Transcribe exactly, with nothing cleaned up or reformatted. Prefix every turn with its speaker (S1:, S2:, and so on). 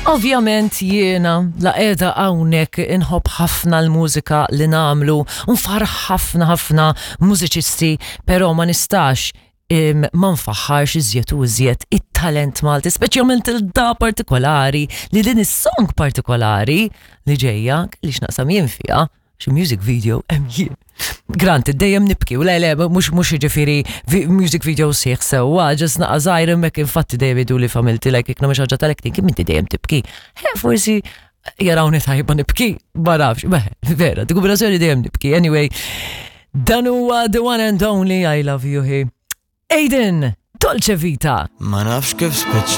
S1: Ovvjament jiena la qiegħda hawnhekk inħobb ħafna l-mużika li nagħmlu, nfaħħar ħafna ħafna mużiċisti, però ma nistax im, ma nfaħħarx iżjed u iżjed it-talent Malti, speċjalment il-da partikolari li din is-song partikolari li ġejja li x'naqsam jien fiha, xi music video hemm jien. Granted, dejjem nibki, u le le, mhux mhux jiġifieri vi- music video sieħ sewwa, just naqa żgħir hemmhekk, infatti dejjem jgħidu li familti, like, jekk nagħmel xi ħaġa tal-acting, kim inti dejjem tibki. He, forsi jarawni tajba nibki, ma nafx, beh, vera, di kombinazzjoni dejjem nibki. Anyway, dan huwa the one and only, I love you he. Aiden, Dolce Vita.
S2: Ma nafx kif spiċċajt.